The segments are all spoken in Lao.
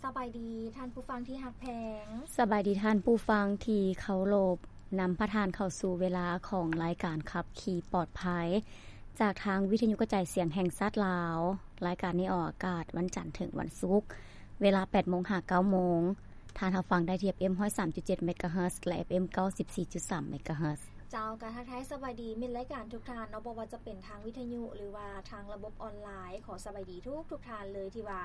ສະບາຍດີທ່ານຜູ້ຟັງທີ່ຮັກແພງ. ສະບາຍດີທ່ານຜູ້ຟັງທີ່ເຄົາລົບ. ນຳພາທ່ານເຂົ້າສູ່ເວລາຂອງລາຍການຂັບຂີ່ປອດໄພ ຈາກທາງວິທະຍຸກະຈາຍສຽງແຫ່ງຊາດລາວ. ລາຍການນີ້ອອກອາກາດວັນຈັນເຖິງວັນສຸກ ເວລາແປດໂມງຫາເກົ້າໂມງ. ທ່ານຮັບຟັງໄດ້ທີ່ ເອຟເອັມຮ້ອຍສາມຈຸດເຈັດເມກາເຮີດ ແລະ ເອຟເອັມເກົ້າສິບສີ່ຈຸດສາມເມກາເຮີດ. ເຈົ້າ ກະທັກທາຍສະບາຍດີມິດລາຍການທຸກທ່ານເນາະ, ບໍ່ວ່າຈະເປັນທາງວິທະຍຸ ຫຼືວ່າທາງລະບົບອອນລາຍ. ຂໍສະບາຍດີທຸກໆທ່ານເລີຍ ທີ່ວ່າ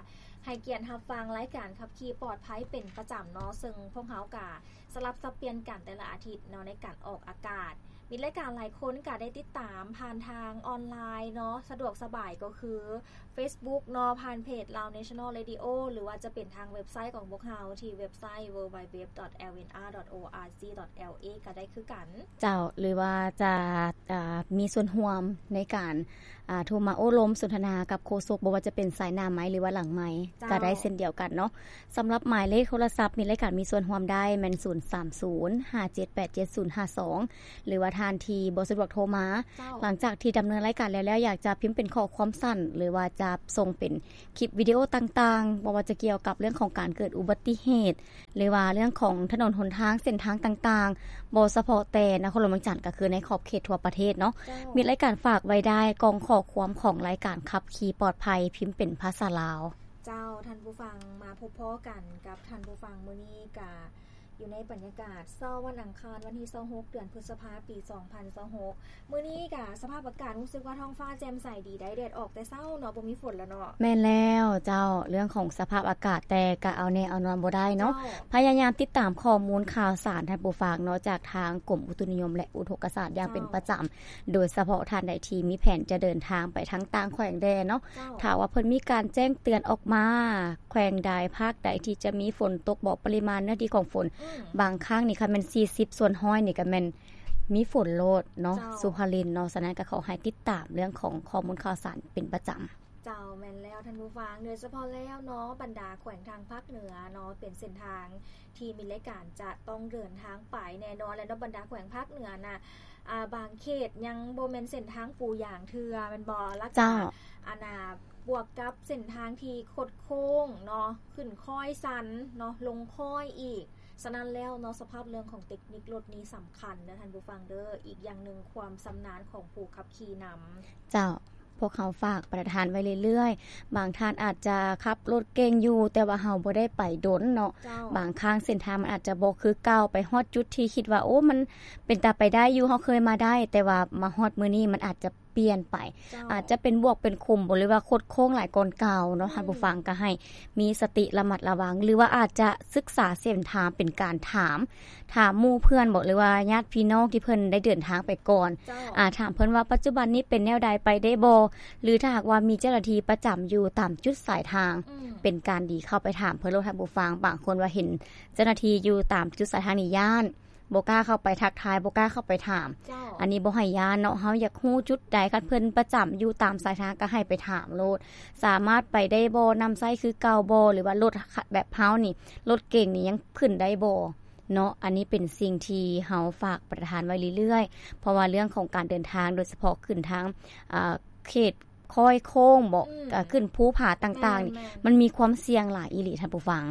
ໃຫ້ກຽດຮັບຟັງລາຍການຂັບຂີ່ປອດໄພເປັນປະຈຳເນາະ, ເຊິ່ງພວກເຮົາກະສະຫຼັບສັບປ່ຽນກັນແຕ່ລະອາທິດເນາະ ໃນການອອກອາກາດ. ມິດລາຍການຫຼາຍຄົນກະໄດ້ຕິດຕາມຜ່ານທາງອອນລາຍເນາະ, ສະດວກສະບາຍກໍຄື ເຟສບຸກເນາະ ຜ່ານເພຈ Lao National Radio ຫຼືວ່າຈະເປັນທາງເວັບໄຊຂອງພວກເຮົາ ທີ່ເວັບໄຊ ดัບເບິນຢູ ດັບເບິນຢູ ດັບເບິນຢູ ດັບເບິນຢູ ດອດ ແອລ ເອ ກໍໄດ້ຄືກັນ. ເຈົ້າ ຫຼືວ່າຈະ ອ່າ ມີສ່ວນຮ່ວມໃນການ ອ່າ ໂທມາໂອ້ລົມສົນທະນາກັບໂຄສົກ ບໍ່ວ່າຈະເປັນສາຍໜ້າໄມ ຫຼືວ່າຫຼັງໄມ ເຈົ້າ ກໍໄດ້ເຊັ່ນດຽວກັນເນາະ. ສຳລັບໝາຍເລກໂທລະສັບ ມິດລາຍການມີສ່ວນຮ່ວມໄດ້ແມ່ນ ສູນສາມສູນ ຫ້າເຈັດແປດເຈັດສູນຫ້າສອງ ຫຼືວ່າທ່ານທີ່ບໍ່ສະດວກໂທມາ. ເຈົ້າ ຫຼັງຈາກທີ່ດຳເນີນລາຍການແລ້ວໆ ຢາກຈະພິມເປັນຂໍ້ຄວາມສັ້ນ ຫຼືວ່າຈະສົ່ງເປັນຄລິບວິດີໂອຕ່າງໆ ບໍ່ວ່າຈະກ່ຽວກັບເລື່ອງຂອງການເກີດອຸບັດຕິເຫດ ຫຼືວ່າເລື່ອງຂອງຖະໜົນຫົນທາງ ເສັ້ນທາງຕ່າງໆ ບໍ່ສະເພາະແຕ່ນະຄອນຫຼວງວຽງຈັນ ກໍຄືໃນຂອບເຂດທົ່ວປະເທດເນາະ. ເຈົ້າ ມິດລາຍການຝາກໄວ້ໄດ້ ກ່ອງຂໍ້ຄວາມຂອງລາຍການຂັບຂີ່ປອດໄພ ພິມເປັນພາສາລາວ. ເຈົ້າ ທ່ານຜູ້ຟັງ ມາພົບພໍ້ກັນກັບທ່ານຜູ້ຟັງມື້ນີ້ກະ ຢູ່ໃນບັນຍາກາດເຊົ້າວັນອັງຄານ ວັນທີຊາວຫົກ ເດືອນພຶດສະພາ ປີສອງພັນຊາວຫົກ. ມື້ນີ້ກະສະພາບອາກາດຮູ້ສຶກວ່າທ້ອງຟ້າແຈ່ມໃສດີໄດ໋ ແດດອອກແຕ່ເຊົ້າເນາະ ບໍ່ມີຝົນແລ້ວເນາະ. ແມ່ນແລ້ວເຈົ້າ ເລື່ອງຂອງສະພາບອາກາດ ແຕ່ກະເອົາແນ່ເອົານອນບໍ່ໄດ້ເນາະ. ເຈົ້າ ພະຍາຍາມຕິດຕາມຂໍ້ມູນຂ່າວສານທ່ານຜູ້ຟັງເນາະ ຈາກທາງກົມອຸຕຸນິຍົມ ແລະ ອຸທົກກະສາດຢ່າງເປັນປະຈຳ. ເຈົ້າ ໂດຍສະເພາະທ່ານໃດທີ່ມີແຜນຈະເດີນທາງໄປທາງຕ່າງແຂວງແດ່ເນາະ. ເຈົ້າ ຖ້າວ່າເພິ່ນມີການແຈ້ງເຕືອນອອກມາ ແຂວງໃດ ພາກໃດທີ່ຈະມີຝົນຕົກບໍ ປະລິມານເນື້ອທີ່ຂອງຝົນ ອືມ ບາງຄັ້ງນີ້ ຄັນແມ່ນສີ່ສິບສ່ວນຮ້ອຍນີ້ ກໍແມ່ນມີຝົນໂລດເນາະ. ເຈົ້າ ສຸພາລິນເນາະ. ສະນັ້ນກໍຂໍໃຫ້ຕິດຕາມເລື່ອງຂອງຂໍ້ມູນຂ່າວສານເປັນປະຈຳ. ເຈົ້າ ແມ່ນແລ້ວທ່ານຜູ້ຟັງ ໂດຍສະເພາະແລ້ວເນາະ ບັນດາແຂວງທາງພາກເໜືອເນາະ ເປັນເສັ້ນທາງທີ່ມິດລາຍການຈະຕ້ອງເດີນທາງໄປແນ່ນອນແຫຼະເນາະ. ບັນດາແຂວງພາກເໜືອນະ ອ່າ ບາງເຂດຍັງບໍ່ແມ່ນເສັ້ນທາງປູຢາງເທື່ອແມ່ນບໍ່? ແລ້ວກໍ ເຈົ້າ ອັນນ່າ ບວກກັບເສັ້ນທາງທີ່ຄົດໂຄ້ງເນາະ ຂຶ້ນຄ້ອຍຊັນເນາະ ລົງຄ້ອຍອີກ. ສະນັ້ນແລ້ວເນາະ ສະພາບເລື່ອງຂອງເຕັກນິກລົດນີ້ສຳຄັນເດີທ່ານຜູ້ຟັງເດີ. ອີກຢ່າງໜຶ່ງ ຄວາມຊຳນານຂອງຜູ້ຂັບຂີ່ນຳ. ເຈົ້າ ພວກເຮົາຝາກປະທານໄວ້ເລື້ອຍໆ. ບາງທ່ານອາດຈະຂັບລົດເກັ່ງຢູ່ ແຕ່ວ່າເຮົາບໍ່ໄດ້ໄປດົນເນາະ. ເຈົ້າ ບາງຄັ້ງເສັ້ນທາງມັນອາດຈະບໍ່ຄືເກົ່າ, ໄປຮອດຈຸດທີ່ຄິດວ່າ ໂອ້ ມັນເປັນຕາໄປໄດ້ຢູ່ ເຮົາເຄີຍມາໄດ້, ແຕ່ວ່າມາຮອດມື້ນີ້ມັນອາດຈະປ່ຽນໄປ. ເຈົ້າ ອາດຈະເປັນບວກເປັນຂຸມບໍ ຫຼືວ່າຄົດໂຄ້ງຫຼາຍກ່ອນເກົ່າເນາະ. ອືມ ທ່ານຜູ້ຟັງກໍໃຫ້ມີສະຕິລະມັດລະວັງ ຫຼືວ່າອາດຈະສຶກສາເສັ້ນທາງເປັນການຖາມ ຖາມໝູ່ເພື່ອນບໍ ຫຼືວ່າຍາດພີ່ນ້ອງທີ່ເພິ່ນໄດ້ເດີນທາງໄປກ່ອນ. ເຈົ້າ ອາ ຖາມເພິ່ນວ່າປັດຈຸບັນນີ້ເປັນແນວໃດ ໄປໄດ້ບໍ່ ຫຼືຖ້າຫາກວ່າມີເຈົ້າໜ້າທີ່ປະຈຳຢູ່ຕາມຈຸດສາຍທາງ ອືມ ເປັນການດີເຂົ້າໄປຖາມເພິ່ນໂລດທ່ານຜູ້ຟັງ. ບາງຄົນວ່າເຫັນເຈົ້າໜ້າທີ່ຢູ່ຕາມຈຸດສາຍທາງນີ້ຢ້ານ ບໍ່ກ້າເຂົ້າໄປທັກທາຍ ບໍ່ກ້າເຂົ້າໄປຖາມ. ເຈົ້າ ອັນນີ້ບໍ່ໃຫ້ຢ້ານເນາະ. ເຮົາຢາກຮູ້ຈຸດໃດ ຄັນເພິ່ນປະຈຳຢູ່ຕາມສາຍທາງກໍໃຫ້ໄປຖາມໂລດ ສາມາດໄປໄດ້ບໍ່ ນຳໃຊ້ຄືເກົ່າບໍ່ ຫຼືວ່າລົດແບບເຮົານີ້ ລົດເກັ່ງນີ້ຍັງຂຶ້ນໄດ້ບໍ່ເນາະ. ອັນນີ້ເປັນສິ່ງທີ່ເຮົາຝາກປະທານໄວ້ເລື້ອຍໆ ເພາະວ່າເລື່ອງຂອງການເດີນທາງ ໂດຍສະເພາະຂຶ້ນທາງ ອ່າ ເຂດ ຄ້ອຍໂຄ້ງບໍ ອືມ ກະຂຶ້ນພູຜາຕ່າງໆນີ້ ແມ່ນໆ ມັນມີຄວາມສ່ຽງຫຼາຍອີ່ຫຼີທ່ານຜູ້ຟັງ.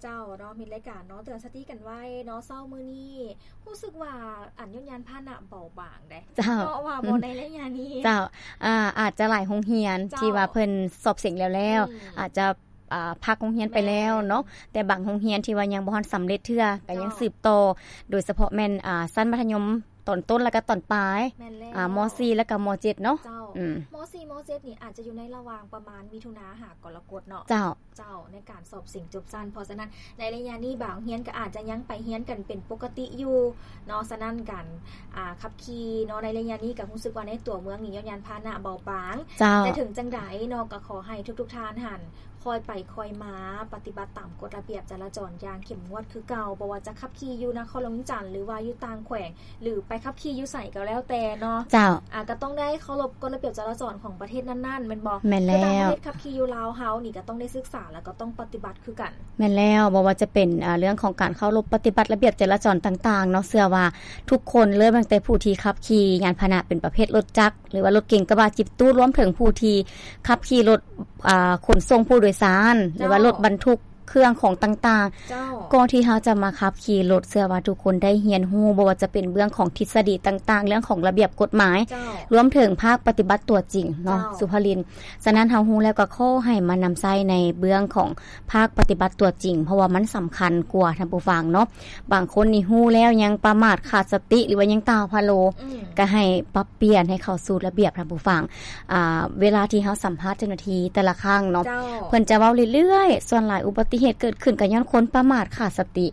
ເຈົ້າເນາະ ມິດລາຍການເນາະ ເຕືອນສະຕິກັນໄວ້ເນາະ ເຊົ້າມື້ນີ້ຮູ້ສຶກວ່າອັນຍົນຍານພາຫະນະເບົາບາງເດ້. ເຈົ້າ ເພາະວ່າ ອືມ ບໍ່ ໃນໄລຍະນີ້ ເຈົ້າ ອ່າ ອາດຈະຫຼາຍໂຮງຮຽນ ເຈົ້າ ທີ່ວ່າເພິ່ນສອບເສັງແລ້ວໆ ອືມ ອາດຈະ ອ່າ ພັກໂຮງຮຽນໄປແລ້ວເນາະ ແມ່ນ ແຕ່ບາງໂຮງຮຽນທີ່ວ່າຍັງບໍ່ທັນສຳເລັດເທື່ອ ກໍຍັງ ເຈົ້າ ສືບຕໍ່ ໂດຍສະເພາະແມ່ນ ອ່າ ຊັ້ນມັດທະຍົມ ຕອນຕົ້ນ ແລ້ວກໍຕອນປາຍ ແມ່ນແລ້ວ ອ່າ ມໍສີ່ ແລ້ວກໍມໍເຈັດເນາະ. ເຈົ້າ ອືມ ມໍສີ່ ມໍເຈັດນີ້ອາດຈະຢູ່ໃນລະຫວ່າງປະມານມິຖຸນາຫາກໍລະກົດເນາະ. ເຈົ້າ ເຈົ້າ ໃນການສອບເສັງຈົບຊັ້ນ ເພາະສະນັ້ນໃນໄລຍະນີ້ບາງໂຮງຮຽນກໍອາດຈະຍັງໄປຮຽນກັນເປັນປົກກະຕິຢູ່ເນາະ. ສະນັ້ນການ ອ່າ ຂັບຂີ່ເນາະ ໃນໄລຍະນີ້ກໍຮູ້ສຶກວ່າໃນຕົວເມືອງນີ້ຍ້ອນຍານພາຫະນະເບົາບາງ. ເຈົ້າ ແຕ່ເຖິງຈັ່ງໃດເນາະ ກໍຂໍໃຫ້ທຸກໆທ່ານຫັ້ນ ຄ່ອຍໄປຄ່ອຍມາ ປະຕິບັດຕາມກົດລະບຽບຈະລາຈອນຢ່າງເຂັ້ມງວດຄືເກົ່າ. ບໍ່ວ່າຈະຂັບຂີ່ຢູ່ນະຄອນຫຼວງວຽງຈັນ ຫຼືວ່າຢູ່ຕ່າງແຂວງ ຫຼືໄປຂັບຂີ່ຢູ່ໃສກໍແລ້ວແຕ່ເນາະ. ເຈົ້າ ອາ ກໍຕ້ອງໄດ້ເຄົາລົບກົດລະບຽບຈະລາຈອນຂອງປະເທດນັ້ນໆ ແມ່ນບໍ່? ແມ່ນແລ້ວ ຄືຕ່າງປະເທດຂັບຂີ່ຢູ່ລາວເຮົານີ້ກໍຕ້ອງໄດ້ສຶກສາ ແລ້ວກໍຕ້ອງປະຕິບັດຄືກັນ. ແມ່ນແລ້ວ ບໍ່ວ່າຈະເປັນ ເອີ ເລື່ອງຂອງການເຄົາລົບປະຕິບັດລະບຽບຈະລາຈອນຕ່າງໆເນາະ ເຊື່ອວ່າທຸກຄົນ ເລີ່ມຕັ້ງແຕ່ຜູ້ທີ່ຂັບຂີ່ຍານພາຫະນະເປັນປະເພດລົດຈັກ ຫຼືວ່າລົດເກັງກະບະຈິບຕູ້ ລວມເຖິງຜູ້ທີ່ຂັບຂີ່ລົດ ອ່າ ຂົນສົ່ງຜູ້ໂດຍສານ ເຈົ້າ ຫຼືວ່າລົດບັນທຸກ ເຄື່ອງຂອງຕ່າງໆ ເຈົ້າ ກ່ອນທີ່ເຮົາຈະມາຂັບຂີ່ລົດ ເຊື່ອວ່າທຸກຄົນໄດ້ຮຽນຮູ້ ບໍ່ວ່າຈະເປັນເລື່ອງຂອງທິດສະດີຕ່າງໆ ເລື່ອງຂອງລະບຽບກົດໝາຍ ເຈົ້າ ລວມເຖິງພາກປະຕິບັດຕົວຈິງເນາະ ເຈົ້າ ສຸພາລິນ. ສະນັ້ນເຮົາຮູ້ແລ້ວກໍຂໍໃຫ້ມານຳໃຊ້ໃນເບື້ອງຂອງພາກປະຕິບັດຕົວຈິງ ເພາະວ່າມັນສຳຄັນກວ່າ ທ່ານຜູ້ຟັງເນາະ. ບາງຄົນນີ້ຮູ້ແລ້ວຍັງປະໝາດຂາດສະຕິ ຫຼືວ່າຍັງຕາພະໂລ ອືມ ກໍໃຫ້ປັບປ່ຽນໃຫ້ເຂົ້າສູ່ລະບຽບ ທ່ານຜູ້ຟັງ. ອ່າ ເວລາທີ່ເຮົາສຳພາດເຈົ້າໜ້າທີ່ແຕ່ລະຄັ້ງເນາະ ເຈົ້າ ເພິ່ນຈະເວົ້າເລື້ອຍໆ ສ່ວນຫຼາຍອຸບັດຕິເຫດເກີດຂຶ້ນກໍຍ້ອນຄົນປະໝາດຂາດສະຕິ.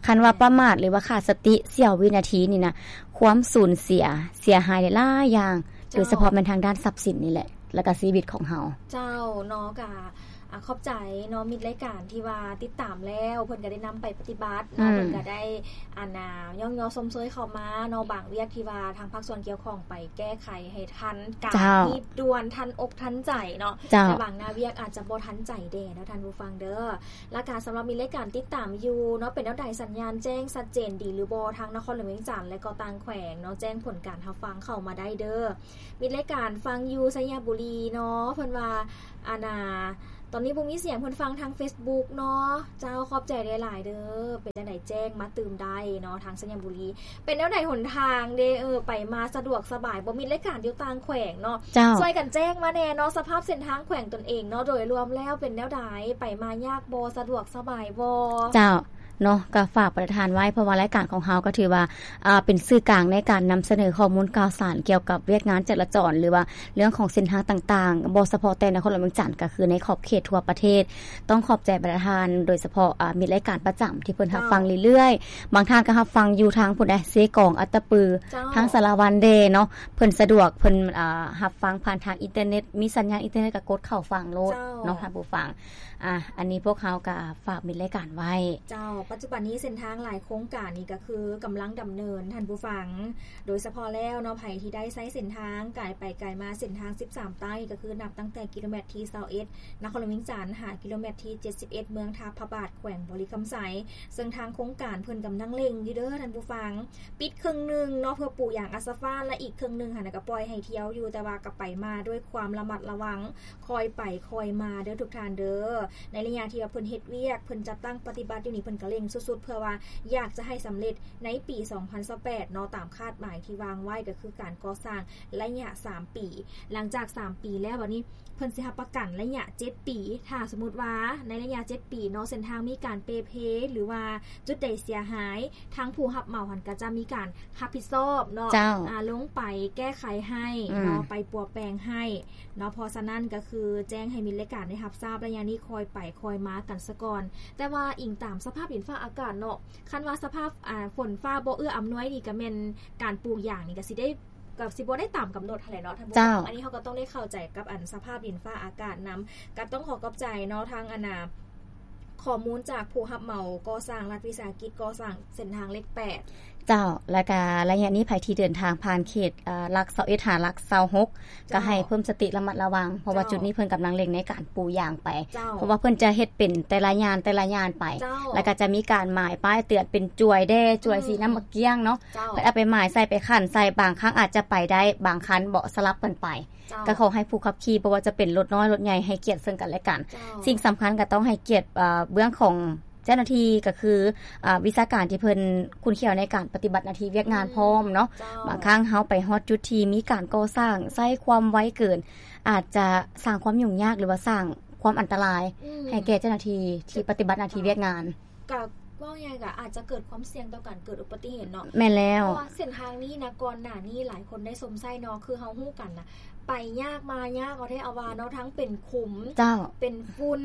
ຄັນວ່າປະໝາດ ຫຼືວ່າຂາດສະຕິສ່ຽວວິນາທີນີ້ນະ ຄວາມສູນເສຍ ເສຍຫາຍໄດ້ຫຼາຍຢ່າງ ເຈົ້າ ໂດຍສະເພາະແມ່ນທາງດ້ານຊັບສິນນີ້ແຫຼະ ແລ້ວກໍຊີວິດຂອງເຮົາ. ເຈົ້າ ເນາະ ກະ ອາ ຂອບໃຈເນາະ ມິດລາຍການທີ່ວ່າຕິດຕາມແລ້ວ ເພິ່ນກໍໄດ້ນຳໄປປະຕິບັດເນາະ ອືມ ເພິ່ນກໍໄດ້ ອັນນ່າ ຍ້ອງຍໍຊົມເຊີຍເຂົ້າມາເນາະ ບາງວຽກທີ່ວ່າທາງພາກສ່ວນກ່ຽວຂ້ອງໄປແກ້ໄຂໃຫ້ທັນການ ເຈົ້າ ຮີບດ່ວນ ທັນອົກທັນໃຈເນາະ ເຈົ້າ ແຕ່ບາງໜ້າວຽກອາດຈະບໍ່ທັນໃຈແດ່ເນາະ ທ່ານຜູ້ຟັງເດີ. ລະກະສຳລັບມິດລາຍການຕິດຕາມຢູ່ເນາະ ເປັນແນວໃດ ສັນຍານແຈ້ງຊັດເຈນດີຫຼືບໍ່ ທາງນະຄອນຫຼວງວຽງຈັນ ແລະກໍຕ່າງແຂວງເນາະ ແຈ້ງຜົນການຮັບຟັງເຂົ້າມາໄດ້ເດີ. ມິດລາຍການຟັງຢູ່ໄຊຍະບູລີເນາະ ເພິ່ນວ່າ ອັນນ່າ ຕອນນີ້ບໍ່ມີສຽງ ເພິ່ນຟັງທາງເຟສບຸກເນາະ. ເຈົ້າ ຂອບໃຈຫຼາຍໆເດີ. ເປັນຈັ່ງໃດແຈ້ງມາຕື່ມໄດ້ເນາະ ທາງໄຊຍະບູລີ. ເປັນແນວໃດຫົນທາງເດ ເອີ ໄປມາສະດວກສະບາຍບໍ່? ມີລາຍການຢູ່ຕ່າງແຂວງເນາະ ເຈົ້າ ຊ່ວຍກັນແຈ້ງມາແດ່ເນາະ ສະພາບເສັ້ນທາງແຂວງຕົນເອງເນາະ ໂດຍລວມແລ້ວເປັນແນວໃດ? ໄປມາຍາກບໍ່? ສະດວກສະບາຍບໍ່? ເຈົ້າ ເນາະ ກໍຝາກປະທານໄວ້ ເພາະວ່າລາຍການຂອງເຮົາກໍຖືວ່າ ອ່າ ເປັນສື່ກາງໃນການນຳສະເໜີຂໍ້ມູນຂ່າວສານກ່ຽວກັບວຽກງານຈະລາຈອນ ຫຼືວ່າເລື່ອງຂອງເສັ້ນທາງຕ່າງໆ ບໍ່ສະເພາະແຕ່ນະຄອນຫຼວງວຽງຈັນ ກໍຄືໃນຂອບເຂດທົ່ວປະເທດ. ຕ້ອງຂອບໃຈປະທານ ໂດຍສະເພາະ ອ່າ ມິດລາຍການປະຈຳທີ່ເພິ່ນຮັບຟັງເລື້ອຍໆ ເຈົ້າ ບາງທ່ານກໍຮັບຟັງຢູ່ທາງພຸ້ນເດ ເຊກອງ ອັດຕະປື ເຈົ້າ ທາງສາລະວັນເດເນາະ ເພິ່ນສະດວກ ເພິ່ນ ອ່າ ຮັບຟັງຜ່ານທາງອິນເຕີເນັດ ມີສັນຍານອິນເຕີເນັດກໍກົດເຂົ້າຟັງໂລດ ເຈົ້າ ເນາະ ທ່ານຜູ້ຟັງ. ອ່າ ອັນນີ້ພວກເຮົາກໍຝາກມິດລາຍການໄວ້. ເຈົ້າ ປັດຈຸບັນນີ້ເສັ້ນທາງຫຼາຍໂຄງການນີ້ກໍຄືກຳລັງດຳເນີນ ທ່ານຜູ້ຟັງ. ໂດຍສະເພາະແລ້ວເນາະ ໃຜທີ່ໄດ້ໃຊ້ເສັ້ນທາງກາຍໄປກາຍມາເສັ້ນທາງສິບສາມໃຕ້ ກໍຄືນັບຕັ້ງແຕ່ກິໂລແມັດທີຊາວເອັດ ນະຄອນຫຼວງວຽງຈັນ ຫາກິໂລແມັດທີເຈັດສິບເອັດ ເມືອງທ່າພະບາດ ແຂວງບໍລິຄຳໄຊ ເຊິ່ງທາງໂຄງການເພິ່ນກຳລັງເລັ່ງຢູ່ເດີ ທ່ານຜູ້ຟັງ. ປິດເຄິ່ງໜຶ່ງເນາະ ເພື່ອປູຢາງອາສະຟາດ ແລະ ອີກເຄິ່ງໜຶ່ງຫັ້ນນະ ກໍປ່ອຍໃຫ້ທ່ຽວຢູ່ ແຕ່ວ່າກໍໄປມາດ້ວຍຄວາມລະມັດລະວັງ ຄ່ອຍໄປຄ່ອຍມາເດີທຸກທ່ານເດີ. ໃນໄລຍະທີ່ວ່າເພິ່ນເຮັດວຽກ ເພິ່ນຈັດຕັ້ງປະຕິບັດຢູ່ນີ້ ເພິ່ນກໍເລັ່ງສຸດໆ ເພື່ອວ່າຢາກຈະໃຫ້ສຳເລັດໃນປີສອງພັນຊາວແປດເນາະ ຕາມຄາດໝາຍທີ່ວາງໄວ້ ກໍຄືການກໍ່ສ້າງໄລຍະສາມປີ. ຫຼັງຈາກສາມປີແລ້ວ ບັດນີ້ເພິ່ນຊິຮັບປະກັນໄລຍະເຈັດປີ. ຖ້າສົມມຸດວ່າໃນໄລຍະເຈັດປີເນາະ ເສັ້ນທາງມີການເປ່ເພ ຫຼືວ່າຈຸດໃດເສຍຫາຍ ທາງຜູ້ຮັບເໝົາຫັ້ນກໍຈະມີການຮັບຜິດຊອບເນາະ ເຈົ້າ ອາ ລົງໄປແກ້ໄຂໃຫ້ເນາະ ອືມ ໄປປົວແປງໃຫ້ເນາະ. ເພາະສະນັ້ນກໍຄືແຈ້ງໃຫ້ມິດລາຍການໄດ້ຮັບຊາບ ໄລຍະນີ້ຄ່ອຍໄປຄ່ອຍມາກັນສະກ່ອນ. ແຕ່ວ່າອີງຕາມສະພາບດິນຟ້າອາກາດເນາະ ຄັນວ່າສະພາບ ອາ ຝົນຟ້າບໍ່ເອື້ອອຳນວຍນີ້ ກໍແມ່ນການປູຢາງນີ້ກໍຊິໄດ້ ກໍຊິບໍ່ໄດ້ຕາມກຳນົດຫັ້ນແຫຼະເນາະ ທ່ານຜູ້ ເຈົ້າ ອັນນີ້ເຮົາກໍຕ້ອງໄດ້ເຂົ້າໃຈກັບ ອັນ ສະພາບດິນຟ້າອາກາດນຳ. ກໍຕ້ອງຂໍຂອບໃຈເນາະ ທາງ ອັນນ່າ ຂໍ້ມູນຈາກຜູ້ຮັບເໝົາກໍ່ສ້າງລັດວິສາຫະກິດກໍ່ສ້າງເສັ້ນທາງເລກແປດ. ເຈົ້າ ແລ້ວກະໄລຍະນີ້ໃຜທີ່ເດີນທາງຜ່ານເຂດ ເອີ ຫຼັກຊາວເອັດ ຫາຫຼັກຊາວຫົກ ເຈົ້າ ກໍໃຫ້ເພີ່ມສະຕິລະມັດລະວັງ ເພາະວ່າ ເຈົ້າ ຈຸດນີ້ເພິ່ນກຳລັງເລັ່ງໃນການປູຢາງໄປ ເຈົ້າ ເພາະວ່າເພິ່ນຈະເຮັດເປັນແຕ່ລະຍານ ແຕ່ລະຍານໄປ ເຈົ້າ ແລ້ວກໍຈະມີການໝາຍປ້າຍເຕືອນເປັນຈວຍແດ່ ຈວຍ ອືມ ສີນ້ຳໝາກກ້ຽງເນາະ ເຈົ້າ ເພິ່ນເອົາໄປໝາຍໃສ່ ໄປຂັນໃສ່ ບາງຄັ້ງອາດຈະໄປໄດ້ ບາງຄັນບໍ່ ສະຫຼັບກັນໄປ. ເຈົ້າ ກໍຂໍໃຫ້ຜູ້ຂັບຂີ່ ບໍ່ວ່າຈະເປັນລົດນ້ອຍລົດໃຫຍ່ ໃຫ້ກຽດເຊິ່ງກັນແລະກັນ. ເຈົ້າ ສິ່ງສຳຄັນກໍຕ້ອງໃຫ້ກຽດ ເອີ ເບື້ອງຂອງເຈົ້າໜ້າທີ່ ກໍຄື ອາ ວິຊາການທີ່ເພິ່ນຄຸ້ນຄຽວໃນການປະຕິບັດໜ້າທີ່ວຽກງານ ອືມ ພ້ອມເນາະ. ເຈົ້າ ບາງຄັ້ງເຮົາໄປຮອດຈຸດທີ່ມີການກໍ່ສ້າງ ໃຊ້ຄວາມໄວເກີນ ອາດຈະສ້າງຄວາມຫຍຸ້ງຍາກ ຫຼືວ່າສ້າງຄວາມອັນຕະລາຍ ອືມ ໃຫ້ແກ່ເຈົ້າໜ້າທີ່ທີ່ປະຕິບັດໜ້າທີ່ວຽກງານ. ກໍເວົ້າງ່າຍໆ ກໍອາດຈະເກີດຄວາມສ່ຽງຕໍ່ການເກີດອຸບັດຕິເຫດເນາະ. ແມ່ນແລ້ວ ເພາະວ່າເສັ້ນທາງນີ້ນະ ກ່ອນໜ້ານີ້ຫຼາຍຄົນໄດ້ຊົມໃຊ້ເນາະ ຄືເຮົາຮູ້ກັນນະ ໄປຍາກມາຍາກ ເອົາແທ້ເອົາວ່າເນາະ ທັງເປັນຂຸມ ເຈົ້າ ເປັນຝຸ່ນ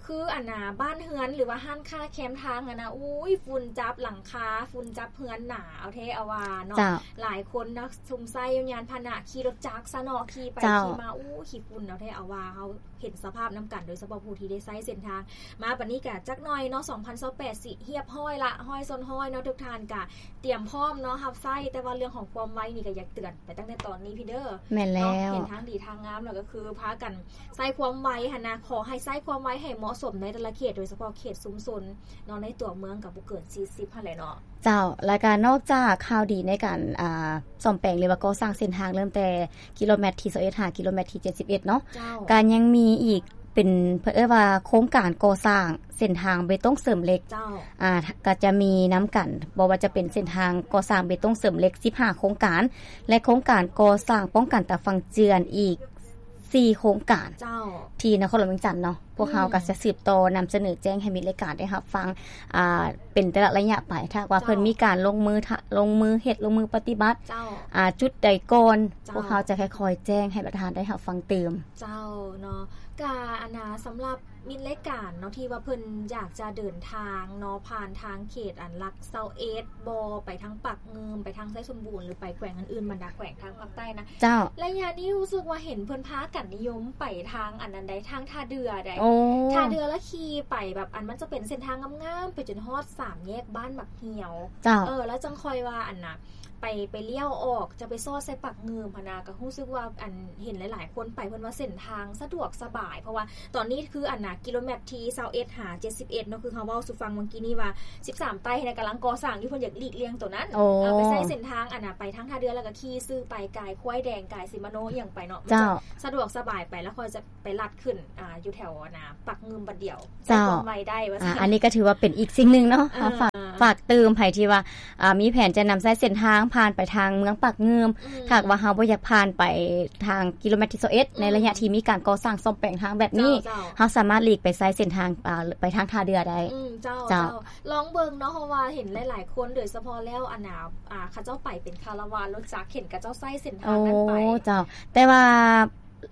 ຄືອັນນ່າ ບ້ານເຮືອນ ຫຼືວ່າຮ້ານຄ້າແຄມທາງຫັ້ນນະ ອຸ້ຍ ຝຸ່ນຈັບຫຼັງຄາ ຝຸ່ນຈັບເຮືອນໜາ ເອົາແທ້ເອົາວ່າເນາະ. ເຈົ້າ ຫຼາຍຄົນນະ ຊົມໃຊ້ຍານພາຫະນະ ຂີ່ລົດຈັກຊະເນາະ ຂີ່ໄປ ເຈົ້າ ຂີ່ມາ ອູ້ ຂີ້ຝຸ່ນ ເອົາແທ້ເອົາວ່າ ເຮົາ ເຫັນສະພາບນຳກັນ ໂດຍສະເພາະຜູ້ທີ່ໄດ້ໃຊ້ເສັ້ນທາງມາບັດນີ້ກະຈັກໜ້ອຍເນາະ ສອງພັນຊາວແປດ ຊິຮຽບຮ້ອຍລະ ຮ້ອຍສ່ວນຮ້ອຍເນາະ ທຸກທ່ານກະຕຽມພ້ອມເນາະ ຮັບໃຊ້ ແຕ່ວ່າເລື່ອງຂອງຄວາມໄວນີ້ກະຢາກເຕືອນໄປຕັ້ງແຕ່ຕອນນີ້ພີ້ເດີ. ແມ່ນແລ້ວ ເນາະ ເຫັນທາງດີທາງງາມແລ້ວກະຄືພາກັນໃຊ້ຄວາມໄວຫັ້ນນະ ຂໍໃຫ້ໃຊ້ຄວາມໄວໃຫ້ເໝາະສົມໃນແຕ່ລະເຂດ ໂດຍສະເພາະເຂດຊຸມຊົນເນາະ ໃນຕົວເມືອງກະບໍ່ເກີນສີ່ສິບຫັ້ນແຫຼະເນາະ. ເຈົ້າ ແລ້ວກະນອກຈາກຂ່າວດີໃນການ ອ່າ ສ້ອມແປງ ຫຼືວ່າກໍ່ສ້າງເສັ້ນທາງ ເລີ່ມແຕ່ກິໂລແມັດທີຊາວເອັດ ຫາກິໂລແມັດທີເຈັດສິບເອັດເນາະ ເຈົ້າ ກະຍັງມີອີກ ເປັນ ເພິ່ນເອີ້ນວ່າໂຄງການກໍ່ສ້າງເສັ້ນທາງເບຕົງເສີມເຫຼັກ ເຈົ້າ ອ່າ ກໍຈະມີນຳກັນ ບໍ່ວ່າຈະເປັນເສັ້ນທາງກໍ່ສ້າງເບຕົງເສີມເຫຼັກສິບຫ້າໂຄງການ ແລະ ໂຄງການກໍ່ສ້າງປ້ອງກັນຕາຝັ່ງເຈື່ອນອີກສີ່ໂຄງການ ເຈົ້າ ທີ່ນະຄອນຫຼວງວຽງຈັນເນາະ. ພວກເຮົາ ອືມ ກໍຈະສືບຕໍ່ນຳສະເໜີແຈ້ງໃຫ້ມິດລາຍການໄດ້ຮັບຟັງ ອ່າ ເປັນແຕ່ລະໄລຍະໄປ ຖ້າຫາກວ່າ ເຈົ້າ ເພິ່ນມີການລົງມື ລົງມືເຮັດ ລົງມືປະຕິບັດ ເຈົ້າ ອ່າ ຈຸດໃດກ່ອນ ເຈົ້າ ພວກເຮົາຈະຄ່ອຍໆແຈ້ງໃຫ້ບັນດາທ່ານໄດ້ຮັບຟັງຕື່ມ. ເຈົ້າເນາະ ກະອັນນາ ສຳລັບມິດລາຍການເນາະ ທີ່ວ່າເພິ່ນຢາກຈະເດີນທາງເນາະ ຜ່ານທາງເຂດອັນຫຼັກຊາວເອັດບໍ ໄປທາງປາກງື່ມ ໄປທາງໄຊສົມບູນ ຫຼືໄປແຂວງອື່ນໆ ບັນດາແຂວງທາງພາກໃຕ້ນະ ເຈົ້າ ໄລຍະນີ້ຮູ້ສຶກວ່າເຫັນເພິ່ນພາກັນນິຍົມໄປທາງອັນນັ້ນໃດ໋ ທາງທ່າເດື່ອໃດ໋ ໂອ້ ທ່າເດື່ອລະຂີ່ໄປແບບ ອັນມັນຈະເປັນເສັ້ນທາງງາມໆ ໄປຈົນຮອດສາມແຍກບ້ານໝາກຫ່ຽວ ເຈົ້າ ເອີ ແລ້ວຈັ່ງຄ່ອຍວ່າອັນນະ ໄປ ໄປລ້ຽວອອກ ຈະໄປຊອດໃສ່ປາກງື່ມຫັ້ນນະ ກໍຮູ້ສຶກວ່າ ອັນ ເຫັນຫຼາຍໆຄົນໄປ ເພິ່ນວ່າເສັ້ນທາງສະດວກສະບາຍ ເພາະວ່າຕອນນີ້ຄື ອັນນະ ກິໂລແມັດທີຊາວເອັດຫາເຈັດສິບເອັດເນາະ ຄືເຮົາເວົ້າສູ່ຟັງເມື່ອກີ້ນີ້ວ່າ ສິບສາມໃຕ້ຫັ້ນນະ ກຳລັງກໍ່ສ້າງຢູ່ ເພິ່ນຢາກຫຼີກລ່ຽງໂຕນັ້ນ ໂອ້ ເອົາໄປໃສ່ເສັ້ນທາງ ອັນນະ ໄປທາງທ່າເດື່ອ ແລ້ວກໍຂີ່ຊື່ໄປ ກາຍຄວາຍແດງ ກາຍສີມະໂນ ອີ່ຫຍັງໄປເນາະ ເຈົ້າ ມັນຈະສະດວກສະບາຍໄປ ແລ້ວຄ່ອຍຈະ ໄປລັດຂຶ້ນ ອ່າ ຢູ່ແຖວອັນນະ ປາກງື່ມບັດດຽວ ເຈົ້າ ໃຊ້ຄວາມໄວໄດ້ວ່າຊັ້ນ ອ່າ ອັນນີ້ກໍຖືວ່າເປັນອີກສິ່ງໜຶ່ງເນາະ ເອີ ເຮົາຝາກ ຝາກຕື່ມໃຜທີ່ວ່າ ອ່າ ມີແຜນຈະນຳໃຊ້ເສັ້ນທາງຜ່ານໄປທາງເມືອງປາກງື່ມ ອືມ ຖ້າຫາກວ່າເຮົາບໍ່ຢາກຜ່ານໄປທາງກິໂລແມັດທີຊາວເອັດ ອືມ ໃນໄລຍະທີ່ມີການກໍ່ສ້າງສ້ອມແປງທາງແບບນີ້ ເຈົ້າ ເຈົ້າ ເຮົາສາມາດຫຼີກໄປໃຊ້ເສັ້ນທາງ ອ່າ ໄປທາງທ່າເດື່ອໄດ້ ອືມ ເຈົ້າ ເຈົ້າ ເຈົ້າ ລອງເບິ່ງເນາະ ເພາະວ່າເຫັນຫຼາຍໆຄົນ ໂດຍສະເພາະແລ້ວ ອັນນະ ອ່າ ເຂົາເຈົ້າໄປເປັນຄາລາວານລົດຈັກ ເຫັນເຂົາເຈົ້າໃຊ້ເສັ້ນທາງນັ້ນໄປ ໂອ້ ເຈົ້າ ແຕ່ວ່າ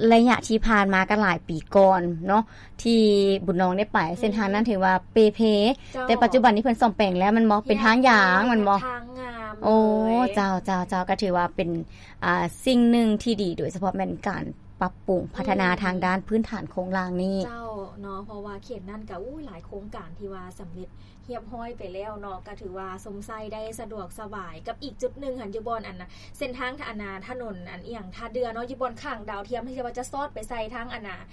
ໄລຍະທີ່ຜ່ານມາກໍຫຼາຍປີກ່ອນເນາະ ທີ່ບຸນນອງໄດ້ໄປ ອືມ ເສັ້ນທາງນັ້ນຖືວ່າເປ່ເພ ເຈົ້າ ແຕ່ປັດຈຸບັນນີ້ເພິ່ນສ້ອມແປງແລ້ວແມ່ນບໍ່? ເປັນທາງຢາງແມ່ນບໍ່? ທາງງາມ ໂອ້ ເລີຍ ເຈົ້າ ເຈົ້າ ເຈົ້າ ກໍຖືວ່າເປັນ ອ່າ ສິ່ງໜຶ່ງທີ່ດີ ໂດຍສະເພາະແມ່ນການປັບປຸງ ອືມ ພັດທະນາທາງດ້ານພື້ນຖານໂຄງລ່າງນີ້ ເຈົ້າ ເນາະ ເພາະວ່າເຂດນັ້ນກໍ ໂອ້ຍ ຫຼາຍໂຄງການທີ່ວ່າສຳເລັດ ຮຽບຮ້ອຍໄປແລ້ວເນາະ ກໍຖືວ່າຊົມໃຊ້ໄດ້ສະດວກສະບາຍ ກັບອີກຈຸດໜຶ່ງຫັ້ນ ຢູ່ບ່ອນອັນນະ ເສັ້ນທາງອັນນະ ຖະໜົນອັນອີ່ຫຍັງ ທ່າເດື່ອເນາະ ຢູ່ບ່ອນຂ້າງດາວທຽມ ທີ່ວ່າຈະສອດໄປໃສ່ທາງອັນນະ